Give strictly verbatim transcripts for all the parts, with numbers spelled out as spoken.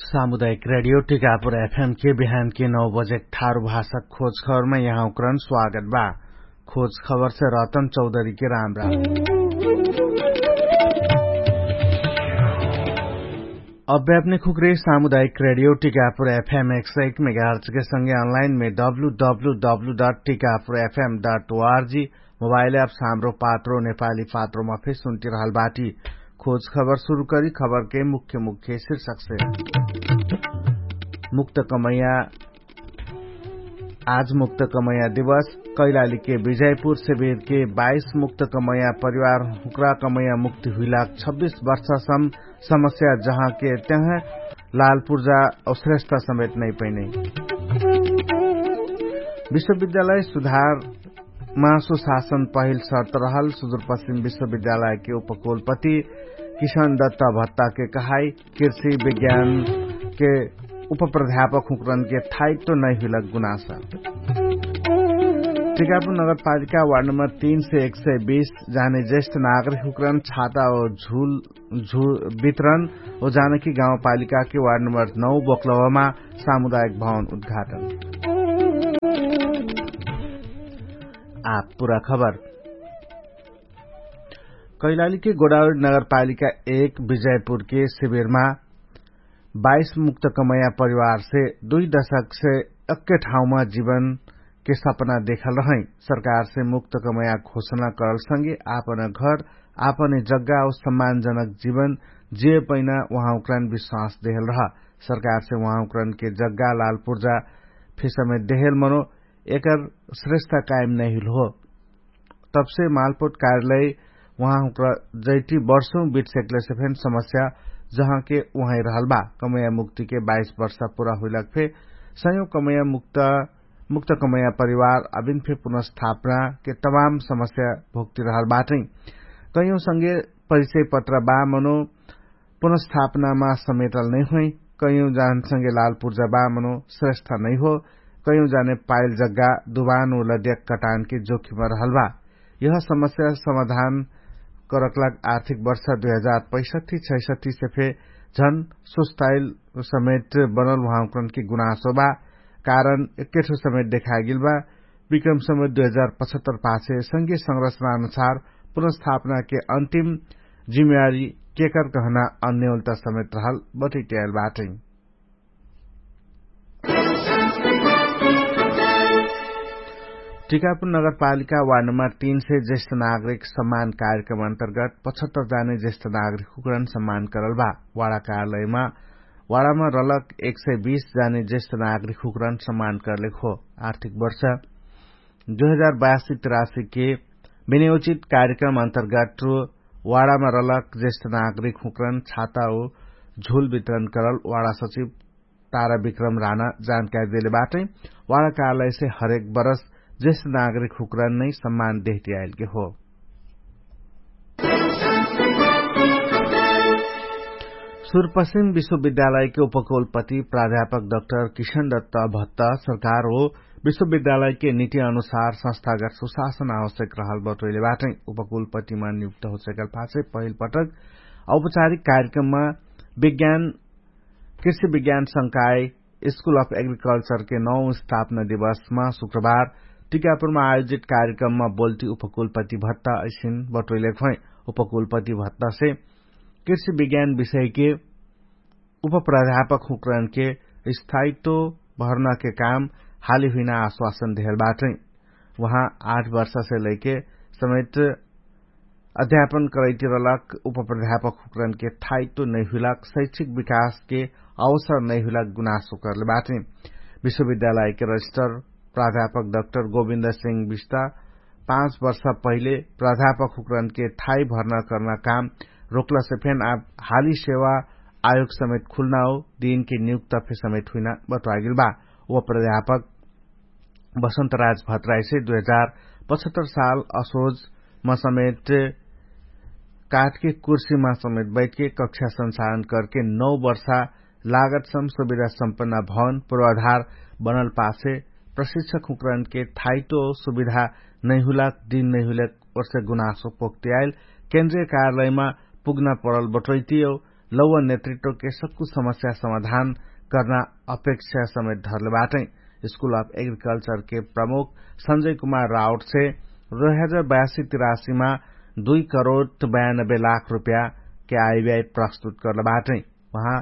सामुदायिक रेडियो टिकापुर एफएम के बिहान के नौ बजे ठारु भाषा खोज खबरमा यहाँ उक्रन स्वागत बा। खोज खबर से रतन चौधरी के राम राम। अब्यापने खुक्रे सामुदायिक रेडियो टिकापुर एफएम एक सय एक मेगाहर्च के संगे अनलाइन मे W W W dot Tikapur FM dot ORG mobile app साम्रो पात्रो नेपाली पात्रोमा फे सुन्ति रहल बाटी। खोज खबर सुरु करी खबर के मुख्य मुख्य शीर्षक से। मुक्त कमैया आज मुक्त कमैया दिवस। कैलाली के विजयपुर शिविर के बाइस मुक्त कमैया परिवार हुक्रा कमैया मुक्ति हुइलाक छब्बिस वर्षसम समस्या जहाँ के त्यहाँ लालपुर्जा औश्रेष्ठ समेत नै पैनै। विश्वविद्यालय सुधार मा सुशासन पहिल शर्त रहल सुदूरपश्चिम विश्वविद्यालय के उपकुलपति किशन दत्ता भत्ता के कहाई। कृषि विज्ञान के उपप्राध्यापक हुक्रन के थाइत्व नै हुइलक गुनासा। टिकापुर नगरपालिका वार्ड नम्बर तीन से एक सय बीस जाने ज्येष्ठ नागरिक हुक्रन छाता और झुल वितरण ओ जानकी गाउँपालिका के वार्ड नम्बर नौ बोक्लवामा सामुदायक भवन उद्घाटन। आप पुरा खबर। कैलाली के गोडावरी नगरपालिका एक विजयपुर के शिविरमा बाइस मुक्त कमैया परिवार से दुई दशक से एक्के ठाउँमा जीवन के सपना देखल रहै। सरकार से मुक्त कमैया घोषणा करल संगे आपन घर आपन जग्गा और सम्मानजनक जीवन जिए पैना उहाँ उक्रान विश्वास देहल रह। सरकार से उहाँ उक्रान के जग्गा लालपुर्जा फिसमे देहल मनो एकर श्रेष्ठा कायम नहिल हो। तबसे मालपोट कार्यालय उहाँ हुक्रा जैटी वर्षौं बिट सेक्लेसे फेन समस्या जहाँ के उहाँ रहल बा। कमैया मुक्ति के बाइस वर्षा पुरा हुइलक फे सयौं कमैया मुक्त कमैया परिवार अबिन फे पुनर्स्थापना के तमाम समस्या भोक्ति रहल बाटै। कैयौं संगे परिचय पत्र बा मनो पुनर्स्थापनामा समेटल नै होइ। कैयौं जानसँगे लालपुर्जा बा मनो श्रेष्ठ नै हो। कैयौं जाने पाइल जग्गा दुबान उ लद्याक कटानके जोखिम रहल बा। यह समस्या समाधान करकलाग आर्थिक वर्ष दुई हजार पैसठी छैसठी से फे झन सुस्ताइल समेट बनल उहाँकनके गुनासो बा। कारण एक्केठो समेट देखागेल बा। विक्रम समेट दुई हजार पचहत्तर पाछे संगे संरचना अनुसार पुनर्स्थापना के अन्तिम जिम्मेवारी केकर कहना अन्यौलता समेत रहल बटैट्याएल बाटै। टिकापुर नगरपालिका वार्ड नम्बर तीन से ज्येष्ठ नागरिक सम्मान कार्यक्रम अन्तर्गत पचहत्तर जाने ज्येष्ठ नागरिक हुकरण सम्मान करल बा। वाडा कार्यालयमा वाडामा रलक एक सय बीस जाने ज्येष्ठ नागरिक हुकरण सम्मान करलेक हो। आर्थिक वर्ष दुई हजार बयासी तिरासी के विनियोजित कार्यक्रम अन्तर्गत वाडामा रलक ज्येष्ठ नागरिक हुक्रन छाता हो झुल वितरण करल वाडा सचिव तारा विक्रम राना जानकारी देले बाटै। वाडा कार्यालय से हरेक बरस ज्येष्ठ नागरिक हुक्रन नै सम्मान देहटी आइलके हो। सुरपश्चिम विश्वविद्यालय के उपकुलपति प्राध्यापक डाक्टर किशन दत्त भत्त सरकार हो विश्वविद्यालय के निति अनुसार संस्थागत सुशासन आवश्यक रहल बटोइले बाटै। उपकुलपतिमा नियुक्त होसकल पाछे पहिल पटक औपचारिक कार्यक्रममा विज्ञान कृषि विज्ञान संकाय स्कुल अफ एग्रिकल्चर के नौ स्थापना दिवसमा शुक्रबार टिकापुरमा आयोजित कार्यक्रममा बोल्टी उपकुलपति भत्त ऐसिन बटोइले खै। उपकुलपति भत्त से कृषि विज्ञान विषय के उपप्राध्यापक हुक्रन के स्थायित्व भर्ना के काम हाली हुइना आश्वासन देहल बाटै। उहाँ आठ वर्ष से लैके समेट अध्यापन करैतिरलक उपप्राध्यापक हुक्रन के थायित्व नैहुइलक शैक्षिक विकास के अवसर नैहुइलक गुनासो करले बाटै। विश्वविद्यालय के रजिस्टर प्राध्यापक डाक्टर गोविन्द सिंह विष्टा पाँच वर्ष पहिले प्राध्यापक हुक्रन के थाई भर्ना कर्ना काम रोक्लसे फेन आब हाली सेवा आयोग समेत खुल्ना हो दिनके नियुक्त फे समेत हुइना बटवागेल बा। व प्राध्यापक बसन्त राज भट्टराइसे दुई हजार पचहत्तर साल असोजमा समेत काठके कुर्सीमा समेत बैठके कक्षा संसारण करके नौ वर्षा लागत सम सुविधा सम्पन्न भवन पूर्वाधार बनल पासे प्रशिक्षक हुक्रनके थाइतो सुविधा नैहुलाक दिन नैहुलाक ओर्से गुनासो पोक्तियाइल केन्द्रीय कार्यालयमा पुग्ना परल बटोइतियो। लौवा नेतृत्वके सक्कु समस्या समाधान कर्ना अपेक्षा समेत धरले बाटै। स्कुल अफ एग्रिकल्चरके प्रमुख संजय कुमार राउटसे दुई हजार बयासी तिरासीमा दुई करोड बयानबे लाख रुपयाके आइब्याइ प्रस्तुत कर्ले बाटै। उहाँ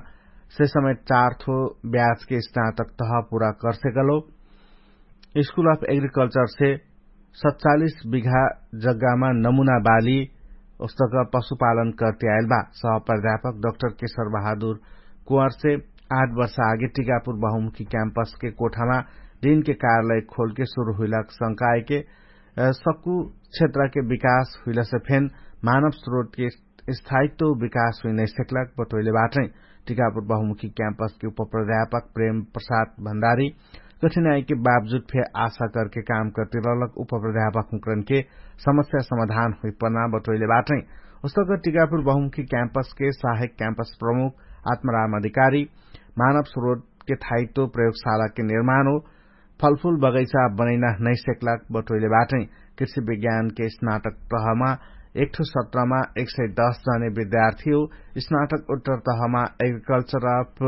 से समेत चार थो ब्याजके स्नातक तह पुरा कर्सेकलो। स्कुल अफ एग्रिकल्चरसे सतचालिस बिघा जग्गामा नमुना बाली उस्तक पशुपालन कर्ति आइल बा। सह प्राध्यापक डक्टर केशर बहादुर कुवारसे आठ वर्ष आगे टिकापुर बहुमुखी क्याम्पसके कोठामा दिनके कार्यालय खोलके सुरु हुइलक शंकाएके सक्कु क्षेत्रके विकास हुइलसे फेन मानव स्रोतके स्थायित्व विकास हुइ नैसेक्लक बटोइले बाटै। टिकापुर बहुमुखी क्याम्पसके उपप्राध्यापक प्रेम प्रसाद भण्डारी कठिनाइके बावजुद फे आशा करके काम कर्ति रहलक उपप्राध्यापक हुँकरनके समस्या समाधान हुइपना बटोइले बाटै। उस्तक टिकापुर बहुमुखी क्याम्पसके सहायक क्याम्पस प्रमुख आत्माराम अधिकारी मानव स्रोतके थाइत्व प्रयोगशालाके निर्माण हो फलफुल बगैचा बनैना नैसेक्लाक बटोइले बाटै। कृषि विज्ञानके स्नातक तहमा एकठो सत्रमा एक सय दस जने विद्यार्थी हो। स्नातक उत्तर तहमा एग्रिकल्चर अफ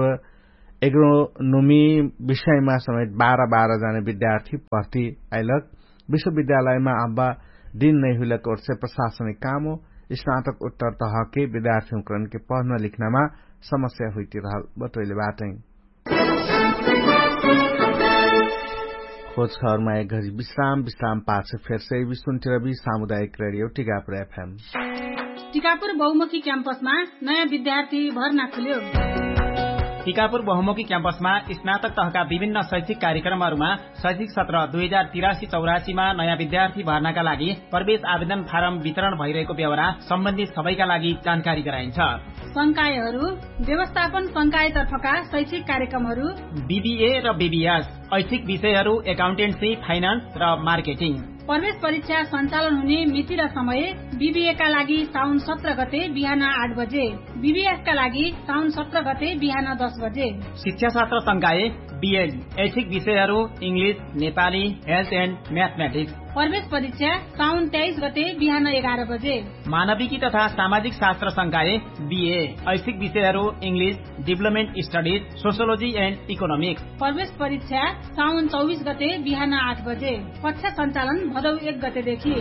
एग्रोनोमी विषयमा समेत बाह्र बाह्र जने विद्यार्थी भर्ती आइलक। विश्वविद्यालयमा अब्बा दिन नैहुइलक ओर्से प्रशासनिक काम हो। स्नातक उत्तर तहके विद्यार्थी हुँकरनके पढ्न लिख्नमा समस्या हुइति रहल बटोइले बाटै। खोज खबरमा एक घरी विश्राम विश्राम पाछ फेरसे विश्वन्तिरवी सामुदायिक रेडियो टिकापुर एफएम। टिकापुर बहुमुखी क्याम्पसमा नयाँ विद्यार्थी भर्ना खुल्यो। टिकापुर बहुमुखी क्याम्पसमा स्नातक तहका विभिन्न शैक्षिक कार्यक्रमहरूमा शैक्षिक सत्र दुई हजार तिरासी चौरासीमा नयाँ विद्यार्थी भर्नाका लागि प्रवेश आवेदन फारम वितरण भइरहेको बेहोरा सम्बन्धित सबैका लागि जानकारी गराइन्छ। संकायहरू व्यवस्थापन संकायतर्फका शैक्षिक कार्यक्रमहरू बिबिए र बिबिएस, ऐच्छिक विषयहरू एकाउन्टेन्सी, फाइनान्स र मार्केटिङ। प्रवेश परीक्षा सञ्चालन हुने मिति र समय बिबिएका लागि साउन सत्र गते बिहान आठ बजे, बिबिएसका लागि साउन सत्र गते बिहान दस बजे। शिक्षाशास्त्र संकाय बिएल, ऐच्छिक विषयहरू इङ्ग्लिस, नेपाली, हेल्थ एन्ड म्याथम्याटिक्स। प्रवेश परीक्षा साउन तेइस गते बिहान एघार बजे। मानविकी तथा सामाजिक शास्त्र संकाय बिए, ऐच्छिक विषयहरू English, development studies, sociology end economics. प्रवेश परीक्षा साउन चौबिस गते बिहान आठ बजे। कक्षा सञ्चालन भदौ एक गतेदेखि।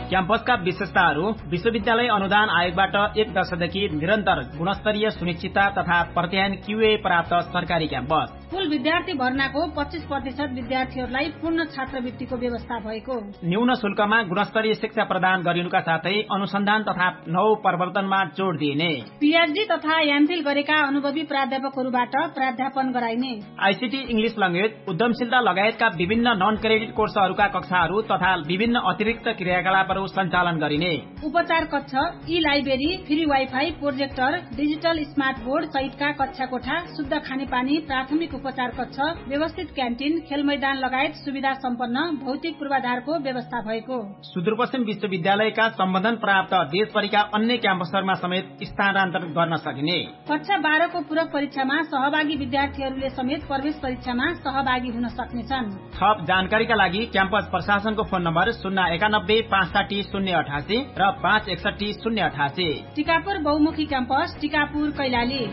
क्याम्पसका विशेषताहरू विश्वविद्यालय अनुदान आयोगबाट एक दशकदेखि निरन्तर गुणस्तरीय सुनिश्चितता तथा प्रत्यायन क्युए प्राप्त सरकारी क्याम्पस। कुल विद्यार्थी भर्नाको पच्चिस प्रतिशत विद्यार्थीहरूलाई पूर्ण छात्रवृत्तिको व्यवस्था भएको। न्यून शुल्कमा गुणस्तरीय शिक्षा प्रदान गरिनुका साथै अनुसन्धान तथा नव प्रवर्तनमा जोड दिइने। पिएचडी तथा यामफिल गरेका अनुभवी प्राध्यापकहरूबाट प्राध्यापन गराइने। आइसिटी इङ्ग्लिस लङ्गेज उद्यमशीलता लगायतका विभिन्न नन क्रेडिट कोर्सहरूका कक्षाहरू तथा विभिन्न अतिरिक्त क्रियाकलापहरू सञ्चालन गरिने। उपचार कक्ष, ई library, free wifi, projector, digital smart board सहितका कक्षा कोठा, शुद्ध खानेपानी, प्राथमिक उपचार कक्ष, व्यवस्थित क्यान्टिन, खेलमैदान लगायत सुविधा सम्पन्न भौतिक पूर्वाधारको व्यवस्था भएको। सुदूरपश्चिम विश्वविद्यालयका सम्बन्धन प्राप्त देशभरिका अन्य क्याम्पसहरूमा समेत स्थानान्तरण गर्न सकिने। कक्षा बाह्रको पूरक परीक्षामा सहभागी विद्यार्थीहरूले समेत प्रवेश परीक्षामा सहभागी हुन सक्नेछन्। थप जानकारीका लागि क्याम्पस प्रशासनको फोन नम्बर शून्य एकानब्बे पाँच साठी शून्य अठासी र पाँच एकसठी शून्य अठासी। टिकापुर बहुमुखी क्याम्पस, टिकापुर कैलाली।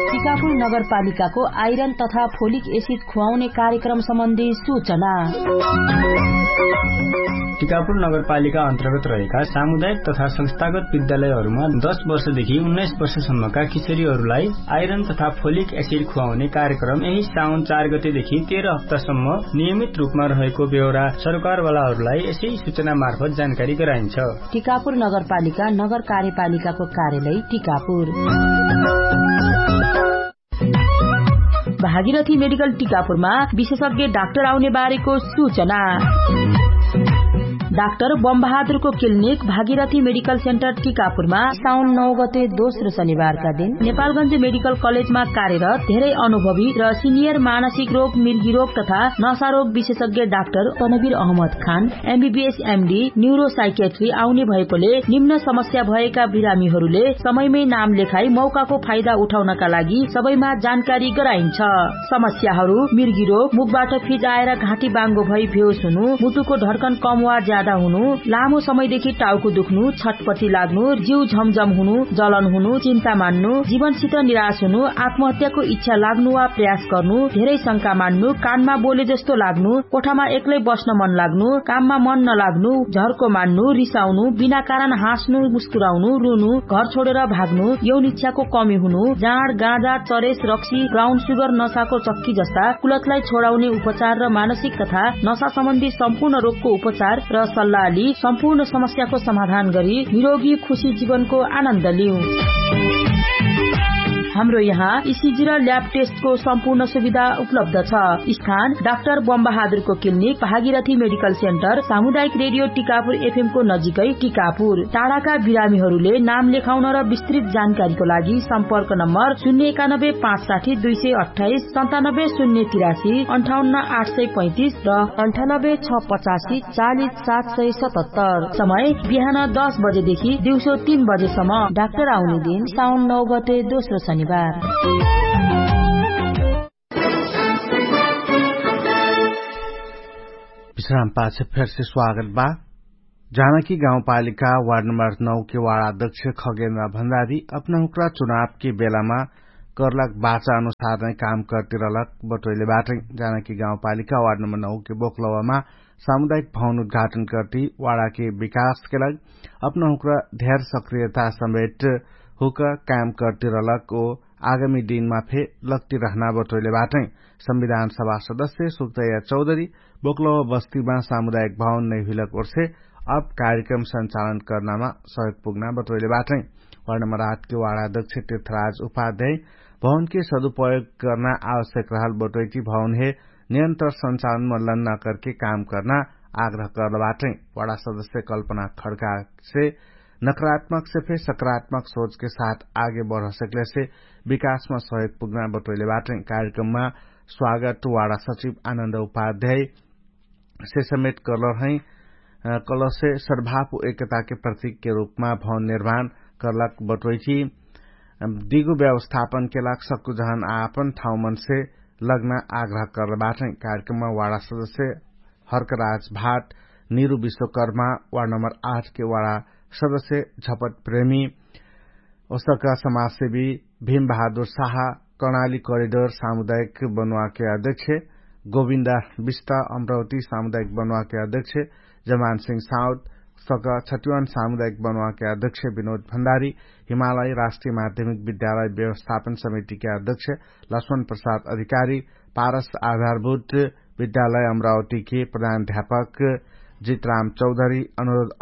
टिकापुर नगरपालिकाको आइरन तथा फोलिक एसिड खुवाउने कार्यक्रम सम्बन्धी सूचना। टिकापुर नगरपालिका अन्तर्गत रहेका सामुदायिक तथा संस्थागत विद्यालयहरूमा दश वर्षदेखि उन्नाइस वर्षसम्मका किशोरीहरूलाई आइरन तथा फोलिक एसिड खुवाउने कार्यक्रम यही साउन चार गतेदेखि तेह्र हप्तासम्म नियमित रूपमा रहेको बेहोरा सरकारवालाहरूलाई यसै सूचना मार्फत जानकारी गराइन्छ। टिकापुर नगरपालिका नगर कार्यपालिकाको कार्यालय टिकापुर। भागीरथी मेडिकल टिकापुरमा विशेषज्ञ डाक्टर आउने बारेको सूचना। डाक्टर बमबहादुरको क्लिनिक भागीरथी मेडिकल सेन्टर टिकापुरमा साउन नौ गते दोस्रो शनिबारका दिन नेपालगञ्ज मेडिकल कलेजमा कार्यरत धेरै अनुभवी र सिनियर मानसिक रोग, मिर्गी रोग तथा नसा रोग विशेषज्ञ डाक्टर तनवीर अहमद खान एमबीबीएस एमडी न्युरोसाइकेट्री आउने भएकोले निम्न समस्या भएका बिरामीहरूले समयमै नाम लेखाई मौकाको फाइदा उठाउनका लागि सबैमा जानकारी गराइन्छ। समस्याहरू मिर्गी रोग, मुखबाट फिज आएर घाँटी बाङ्गो भई भेउसुनु, मुटुको ढड्कन कम वा ज्यादा हुनु, लामो समयदेखि टाउको दुख्नु, छटपटी लाग्नु, जिउ झमझम हुनु, जलन हुनु, चिन्ता मान्नु, जीवनसित निराश हुनु, आत्महत्याको इच्छा लाग्नु वा प्रयास गर्नु, धेरै शंका मान्नु, कानमा बोले जस्तो लाग्नु, कोठामा एक्लै बस्न मन लाग्नु, काममा मन नलाग्नु, झर्को मान्नु, रिसाउनु, बिना कारण हाँस्नु, मुस्कुराउनु, रुनु, घर छोडेर भाग्नु, यौन इच्छाको कमी हुनु, जाँड, गाँजा, चरेस, रक्सी, ब्राउन सुगर, नसाको चक्की जस्ता कुलतलाई छोडाउने उपचार र मानसिक तथा नसा सम्बन्धी सम्पूर्ण रोगको उपचार र सल्लाह लि सम्पूर्ण समस्याको समाधान गरी निरोगी खुशी जीवनको आनन्द लिउ। हाम्रो यहाँ इसिजी र ल्याब टेस्टको सम्पूर्ण सुविधा उपलब्ध छ। स्थान डाक्टर बमबहादुरको क्लिनिक, भागीरथी मेडिकल सेन्टर, सामुदायिक रेडियो टिकापुर एफएमको नजिकै टिकापुर। टाढाका बिरामीहरूले नाम लेखाउन र विस्तृत जानकारीको लागि सम्पर्क नम्बर शून्य एकानब्बे पाँच साठी दुई सय अट्ठाइस, सन्तानब्बे शून्य तिरासी, अन्ठाउन्न आठ सय पैँतिस र अन्ठानब्बे छ पचासी, चालिस सात सय सतहत्तर। समय बिहान दस बजेदेखि दिउँसो तीन बजेसम्म। डाक्टर आउने दिन साउन नौ गते, दोस्रो शनिबार। विश्राम पाछ फेरसे स्वागत बा। जानकी गाउँपालिका वार्ड नम्बर नौ के वार्ड अध्यक्ष खगेन्द्र भण्डारी अपना हुक्रा चुनाव के बेलामा कर्लाक बाचा अनुसार नै काम कर्तिरलक बटोइले बाटै। जानकी गाउँपालिका वार्ड नम्बर नौ के बोकलवामा सामुदायिक भवन उद्घाटन कर्ति वार्ड के विकास के लग अपना हुक्रा धेर सक्रियता समेट हुक काम कर्तिरलक ओ आगामी दिनमा फे लग्ति रहना बटोइले बाटै। संविधान सभा सदस्य सुक्तैया चौधरी बोकलवा बस्तीमा सामुदायिक भवन नै हुइलक ओर्से अब कार्यक्रम सञ्चालन कर्नामा सहयोग पुग्ना बटोइले बाटै। वार्ड नम्बर आठ के वार्ड अध्यक्ष तीर्थराज उपाध्याय भवन के सदुपयोग कर्ना आवश्यक रहल बटोइटी भवन हे नियन्त्र सञ्चालन मल्लन नकरके काम कर्ना आग्रह कर्ल बाटै। वार्ड सदस्य कल्पना खड्कासे नकारात्मक से फे सकारात्मक सोच के साथ आगे बढ सकले से विकासमा सहयोग पुग्ना बटोइले बाटै। कार्यक्रममा स्वागत वाडा सचिव आनन्द उपाध्याय से समेत कर्लर है। कलसे सद्भाव एकता के प्रतीक के रूपमा भवन निर्माण कर्लक बटोइठी दिगो व्यवस्थापन के लाग सक्कु जहन आपन ठाउँ मन से लग्ना आग्रह कर्ल बाटै। कार्यक्रममा वाडा सदस्य हर्कराज भाट, निरु विश्वकर्मा, वार्ड नम्बर आठ के वाडा सदस्य झपट प्रेमी, ओसका समाजसेवी भीम बहादुर साहा, कर्णाली करिडोर सामुदायिक बनुवाके अध्यक्ष गोविन्दा विष्टा, अम्रावती सामुदायिक बनुवाके अध्यक्ष जमान सिंह साउद, सका छतिवान सामुदायिक बनुवाके अध्यक्ष विनोद भण्डारी, हिमालय राष्ट्रिय माध्यमिक विद्यालय व्यवस्थापन समितिके अध्यक्ष लक्ष्मण प्रसाद अधिकारी, पारस आधारभूत विद्यालय अमरावतीके प्रधान अध्यापक जितराम चौधरी,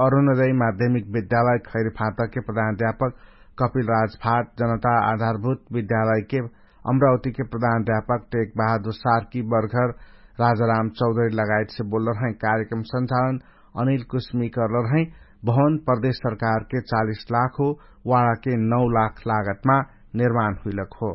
अरुणोदय माध्यमिक विद्यालय खैरिफातके प्रधान अध्यापक कपिल राजफाट, जनता आधारभूत विद्यालयके अमरावतीके प्रधान अध्यापक टेक बहादुर सार्की बर्घर राजाराम चौधरी लगायतसे बोल्लर है। कार्यक्रम सञ्चालन अनिल कुस्मी कर्लर है। भवन प्रदेश सरकारके चालिस लाख हो, वाडाके नौ लाख लागतमा निर्माण हुइलक हो।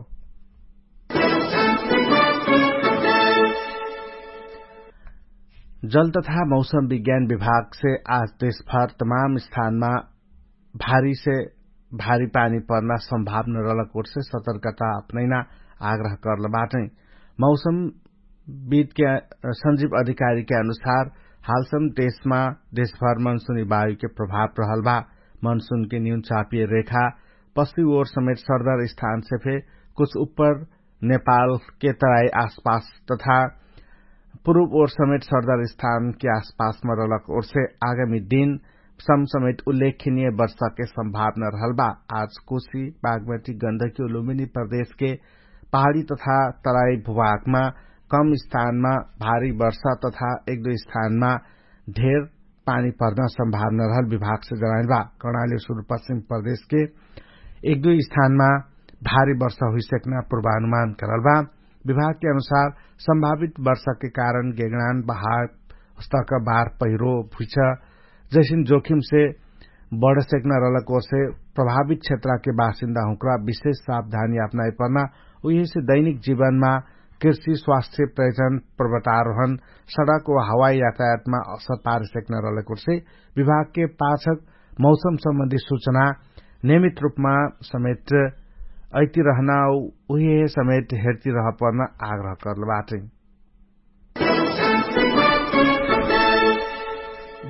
जल तथा मौसम विज्ञान विभागसे आज देशभर तमाम स्थानमा भारीसे भारी पानी पर्ना सम्भावना रहलक ओर्से सतर्कता अपनैना आग्रह कर्ल बाटै। मौसम विदके संजीव अधिकारीके अनुसार हालसम देशमा देशभर मनसुनी वायुके प्रभाव रहल बा। मनसुनके न्यून चापिय रेखा पश्चिम ओर समेत सरदार स्थानसे फे कुछ उप्पर नेपालके तराई आसपास तथा पुरुब ओर समेत सरदार स्थानके आसपासमा रहलक ओर्से आगामी दिन समसमेत उल्लेखनीय वर्षाके सम्भावना रहल बा। आज कोशी बागमती गन्धकी उलुमिनी प्रदेशके पहाडी तथा तराई भुभागमा कम स्थानमा भारी वर्षा तथा एक दुई स्थानमा ढेर पानी पर्ना सम्भावना रहल विभागसे जनाइल बा। कर्णाली सुरुपश्चिम प्रदेशके एक दुई स्थानमा भारी वर्षा हुइसक्ना पूर्वानुमान करल बा। विभागके अनुसार सम्भावित वर्षाके कारण गेगणान बहाव उस्तक बार पहिरो भुइछ जैसिन जोखिमसे बढसेक्ना रहलक ओर्से प्रभावित क्षेत्रके बासिन्दा हुँक्रा विशेष सावधानी अपनाइ पर्ना उहेसे दैनिक जीवनमा कृषि स्वास्थ्य प्रयोजन पर्वतारोहण सडक वा हवाई यातायातमा असर पारसेक्ना रहलक ओर्से विभागके पाछक मौसम सम्बन्धी सूचना नियमित रूपमा समेट अइति रहना उहे समेट हेर्ति रहपर्न आग्रह कर्ल बाटै।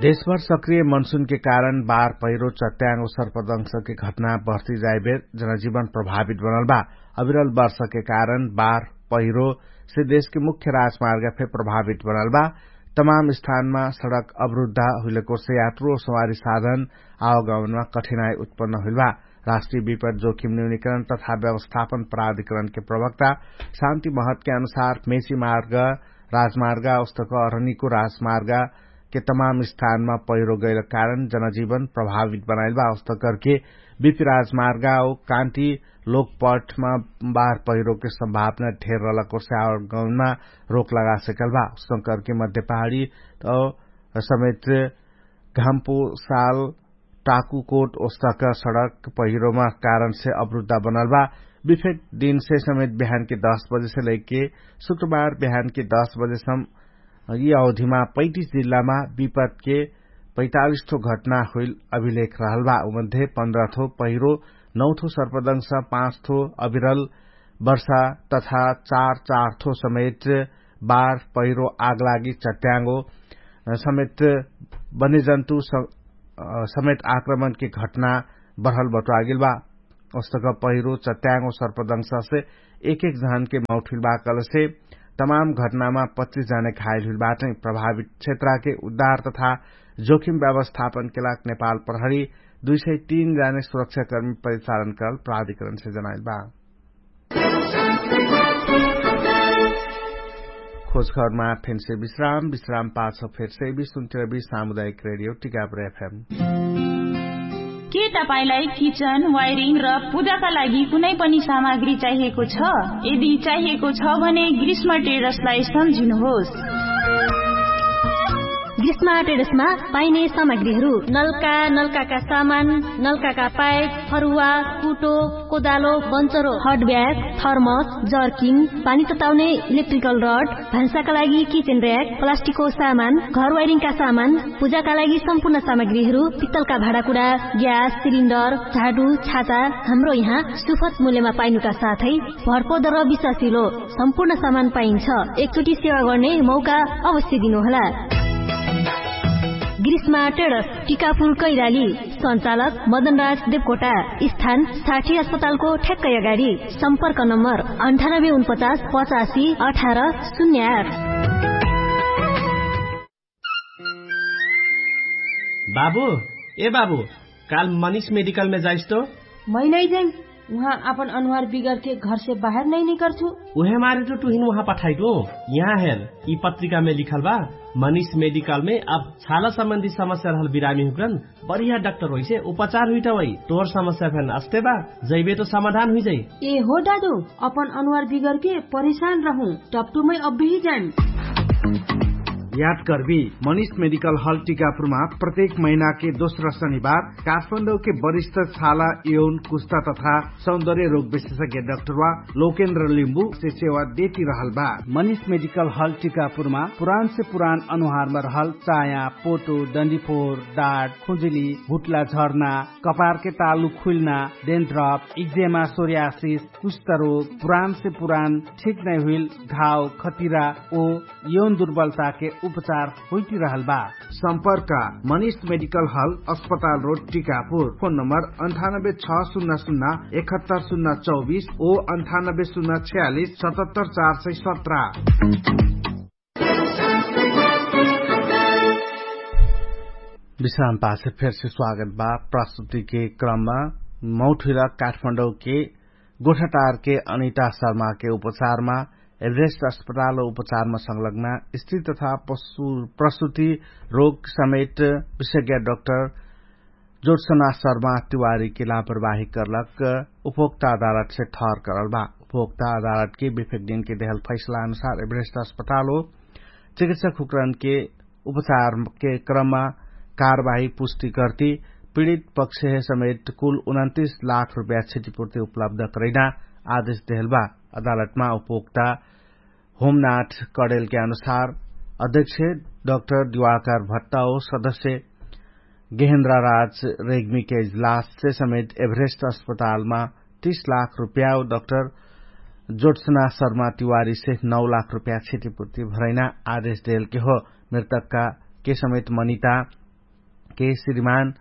देशभर सक्रिय मनसुनके कारण बार पहिरो चट्याङ्गो सर्पदंशके घटना बढ्ती जाइबेर जनजीवन प्रभावित बनल बा। अविरल वर्षके कारण बार पहिरोसे देशके मुख्य राजमार्ग फे प्रभावित बनल बा। तमाम स्थानमा सडक अवरुद्धा हुइलकोसे यात्रु सवारी साधन आवगमनमा कठिनाई उत्पन्न हुइल बा। राष्ट्रिय विपद जोखिम न्यूनिकरण तथा व्यवस्थापन प्राधिकरणके प्रवक्ता शान्ति महतके अनुसार मेची मार्ग राजमार्ग उस्तक अरनिको राजमार्ग के तमाम स्थानमा पहिरो गैल कारण जनजीवन प्रभावित बनाइल बा। उस्तक करके बिपी राजमार्ग कान्ति लोकपठमा बार पहिरोके सम्भावना ढेर रहलक ओर्से आवगमनमा रोक लगा सकल बा। उस्तक करके मध्य पहाडी समेत घाम्पु साल टाकुकोट ओस्तक सडक पहिरोमा कारणसे अवरुद्धा बनल बा। बिफेक दिनसे समेत बिहानके दस बजेसे लैके शुक्रबार बिहानके दस बजेसम यि अवधिमा पैतिस जिल्लामा विपदके पैतालिस थो घटना हुइल अभिलेख रहल बा। उमध्ये पन्ध्र थो पहिरो, नौ थो सर्पदंश, पाँच थो अविरल वर्षा तथा चार चार थो समेत बार पहिरो आगलागी चट्याङ्गो समेत बन्यजन्तु समेत आक्रमणके घटना बढल बटुवागेल बा। ओस्तक पहिरो चट्याङ्गो सर्पदंशसे एक एक जहनके मौठिल बा कलसे तमाम घटनामा पच्चिस जहने घाइल हुइल बाटै। प्रभावित क्षेत्रके उद्धार तथा जोखिम व्यवस्थापनके लाग नेपाल प्रहरी दुई सय तीन जहने सुरक्षाकर्मी परिचालन कल प्राधिकरणसे जनाइल बा। खोजखबरमा फेन्से विश्राम विश्राम पाछ फेर्से विश्वन्त्रबी सामुदायिक रेडियो टिकापुर एफएम। के तपाईंलाई किचन वायरिङ र पूजाका लागि कुनै पनि सामग्री चाहिएको छ? यदि चाहिएको छ भने ग्रीष्म टेरसलाई सम्झिनुहोस्। ग्रीष्म टेरसमा पाइने सामग्रीहरू नल्का नल्काका सामान, नल्काका पाइप, फरुवा, कुटो, कोदालो, बन्चरो, हटब्याग, थर्मस, जर्किन, पानी तताउने इलेक्ट्रिकल रड, भान्साका लागि किचेन र्याक, प्लास्टिकको सामान, घर वाइरिङका सामान, पूजाका लागि सम्पूर्ण सामग्रीहरू, पित्तलका भाँडाकुडा, ग्यास सिलिन्डर, झाडु, छाता, हाम्रो यहाँ सुफत मूल्यमा पाइनुका साथै भरपर्दो र विश्वासिलो सम्पूर्ण सामान पाइन्छ। एकचोटि सेवा गर्ने मौका अवश्य दिनुहोला। ग्रीष्मा टेडस, टिकापुर कैराली। सञ्चालक मदनराज देवकोटा। स्थान साठी अस्पतालको ठ्याक्कै अगाडि। सम्पर्क नम्बर अन्ठानब्बे उनपचास पचासी अठार शून्य आठ। बाबु, ए बाबु, काल मनिष मेडिकलमे जाइस्तो। मै नै जाइम। उहाँ आपन अनुहार बिगरके घरसे बाहेर नै निकर्छु। उहे मारे त टुहिन उहाँ पठाइदो। यहाँ हेर, यि पत्रिकामे लिखल बा, मनिष मेडिकलमे अब छाला सम्बन्धी समस्या रहल बिरामी हुक्रन बढिया डाक्टर होइसे उपचार हुइटवै। तोर समस्या फेन अस्ते बा, जैबे त समाधान हुइजै। ए हो दादु, अपन अनुहार बिगरके परेशान रहु, टप्टुमै अब्बेही जाइम। याद कर्बी, मनिष मेडिकल हल टिकापुरमा प्रत्येक महिनाके दोस्रा शनिबार काठमाडौके वरिष्ठ छाला, यौन, कुस्ता तथा सौन्दर्य रोग विशेषज्ञ डाक्टरवा लोकेन्द्र लिम्बु से सेवा देती रहल बा। मनिष मेडिकल हल टिकापुरमा पुरान से पुरान अनुहारमा रहल चाया, पोटो, डन्डीफोर, डाट, खुजुली, भुट्ला झर्ना, कपारके तालु खुइल्ना, डेन्ड्रप, इक्जेमा, सोर्यासिस, कुष्ठरोग, पुरान से पुरान ठिक नै हुइल घाव, खतिरा ओ यौन दुर्बलताके उपचार हुइटिरहल बा। सम्पर्क मनिष मेडिकल हल, अस्पताल रोड, टिकापुर। फोन नम्बर अन्ठानब्बे छ शून्य शून्य एकहत्तर शून्य चौबिस ओ अन्ठानब्बे शून्य छ्यालिस सतहत्तर चार सय सत्र। विश्राम पाछे फेरसे स्वागत बा। प्रस्तुतिके क्रममा मौठुइला काठमाडौँके गोठाटारके अनिता शर्माके उपचारमा एभरेस्ट अस्पताल उपचारमा संलग्ना स्त्री तथा प्रस्तुति रोग समेत विशेषज्ञ डाक्टर जोडसना शर्मा तिवारीके लापरवाही करलक उपभोक्ता अदालतसे ठहर करल बा। उपभोक्ता अदालतके विफेक दिनके देहल फैसला अनुसार एभरेस्ट अस्पताल हो चिकित्सक हुकरनके उपचारके क्रममा कारवाही पुष्टि गर्ति पीडित पक्षहे समेत कुल उनन्तिस लाख रुपया क्षतिपूर्ति उपलब्ध करैना आदेश देहल बा। अदालतमा उपभोक्ता होमनाथ कडेलके अनुसार अध्यक्ष डाक्टर दिवाकर भट्टा ओ सदस्य गेहेन्द्रा राज रेग्मीके इजलाससे समेत एभरेस्ट अस्पतालमा तीस लाख रुपया ओ डाक्टर जोटसना शर्मा तिवारीसे नौ लाख रुपया क्षतिपूर्ति भरैना आदेश देलके हो। मृतकका के समेत मनिता के श्रीमान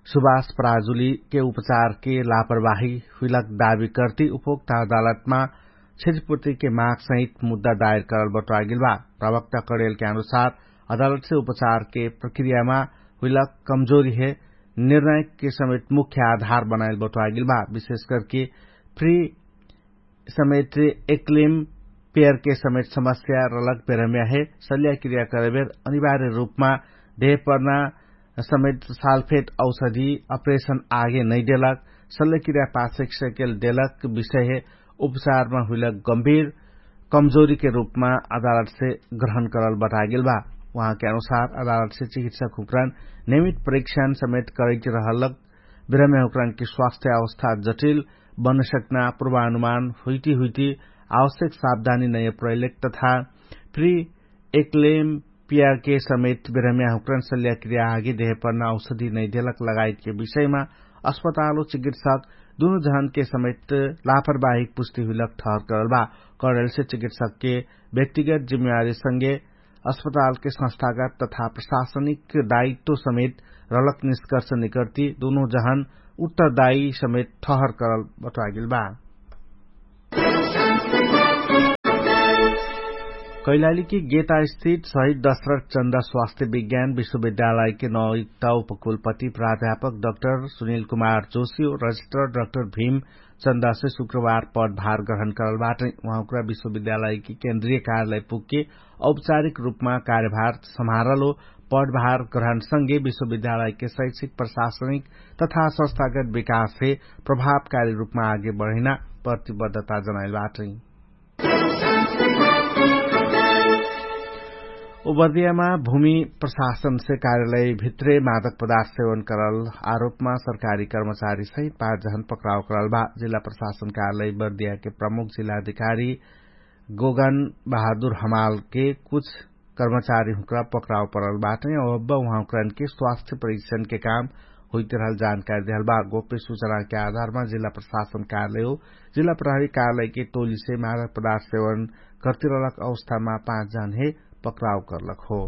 सुभाष पराजुली के उपचार के लापरवाही हुइलक दावी कर्ति उपभोक्ता अदालतमा क्षतिपूर्ति के माग सहित मुद्दा दायर करल बटुवागेल बा। प्रवक्ता कडेल के अनुसार अदालत से उपचार के प्रक्रियामा हुइलक कमजोरी हे निर्णय के समेत मुख्य आधार बनाएल बटुवागेल बा। विशेष करके फ्री समेत एक्लिम पेयर के समेत समस्या रलक बेरम्या हे। सल्याक्रिया करेबेर अनिवार्य रूपमा देहपर्ना समेत सालफेट औषधि अपरेशन आगे नैदेलक सल्याक्रिया पाछेक सेकेल देलक विषय हे। उपचारमा हुइलक गम्भीर कमजोरी के रूपमा अदालत से ग्रहण करल बटागेल बा। उहाँ के अनुसार अदालत से चिकित्सक हुकरण नियमित परीक्षण समेत करैत रहलक बिरम्या हुकरण के स्वास्थ्य अवस्था जटिल बन सकना पूर्वानुमान हुइटी हुइटी आवश्यक सावधानी नैय प्रैलेक तथा फ्री एक्लेम पियाके समेत बिरम्या हुकरण सल्याक्रिया आगे देहपर्ना औषधि नैदेलक लगायत के विषयमा अस्पताल व चिकित्सक दुनु जहन के समेत लापरवाहिक पुष्टि हुइलक ठहर करल बा। कडेल से चिकित्सक के व्यक्तिगत जिम्मेवारी संगे अस्पताल के संस्थागत तथा प्रशासनिक दायित्व समेत रलक निष्कर्ष निकर्ति दुनु जहन उत्तरदायी समेत ठहर करल बटुवागेल बा। कैलाली के गेता स्थित सहित दशरथ चन्दा स्वास्थ्य विज्ञान विश्वविद्यालय के नौयुक्त उपकुलपति प्राध्यापक डक्टर सुनिल कुमार जोशी और रजिस्टर डक्टर भीम चन्दा से शुक्रवार पदभार ग्रहण करल बाटै। उहाँ उक्रा विश्वविद्यालय के केन्द्रीय कार्यालय पुग्के औपचारिक रूपमा कार्यभार सम्हारल हो। पदभार ग्रहण संगे विश्वविद्यालय के शैक्षिक प्रशासनिक तथा संस्थागत विकास हे प्रभावकारी रूपमा आगे बढैना प्रतिबद्धता जनाइल बाटै। उबर्दियामा भूमि प्रशासन से कार्यालय भित्रे मादक पदार्थ सेवन करल आरोपमा सरकारी कर्मचारी सहित पाँच जहन पक्राउ करल बा। जिल्ला प्रशासन कार्यालय बर्दिया के प्रमुख जिल्ला अधिकारी गोगन बहादुर हमाल के कुछ कर्मचारी हुँक्रा पक्राउ परल बाटै औ अब्बा उहाँ हुँक्रान के स्वास्थ्य परीक्षण के काम हुइत रहल जानकारी देहल बा। गोप्य सुचना के आधारमा जिल्ला प्रशासन कार्यालय हो जिल्ला प्रहरी कार्यालय के टोली से मादक पदार्थ सेवन कर्तिरलक अवस्थामा पाँच जहन हे पक्राउ करलक हो।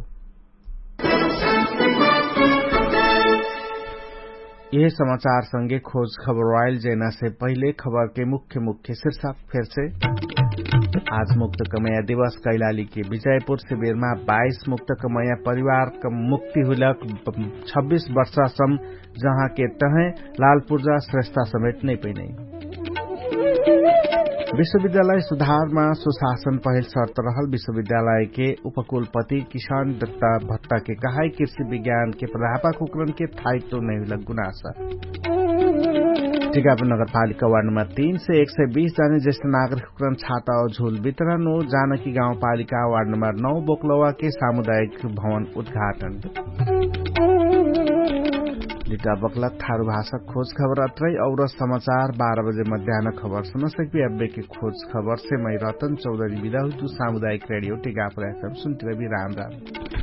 यह समाचार संगे खोज खबर वाइल जैना से पहिले खबर के मुख्य मुख्य शीर्षक फेर से। आज मुक्त कमैया दिवस कैलाली के विजयपुर शिविरमा बाइस मुक्त कमैया परिवार मुक्ति हुइलक छब्बिस वर्षासम जहाँ के तहै लालपुर्जा श्रेष्ठा समेत नै पैनै। विश्वविद्यालय सुधारमा सुशासन पहिल शर्त रहल विश्वविद्यालय के उपकुलपति किसान दत्ता भत्ता के कहाई कृषि विज्ञान के प्राध्यापक हुकरन के थाइत्व नै हुइलक गुनासा। टिकापुर नगरपालिका वार्ड नम्बर तीन से एक सय बीस जाने ज्येष्ठ नागरिक हुकरन छाता और झुल वितरण हो जानकी गाउँपालिका वार्ड नम्बर नौ बोकलवा के सामुदायिक भवन उद्घाटन। लिटा बकलक थारु भाषा खोज खबर अत्रै और समाचार बाह्र बजे मध्यान खबर सुनसक्बी अब्बे के खोज खबर से मै रतन चौधरी बिदा हुइतु सामुदायिक रेडियो टिकापुर एफएम सुन्तिरबी राम राम।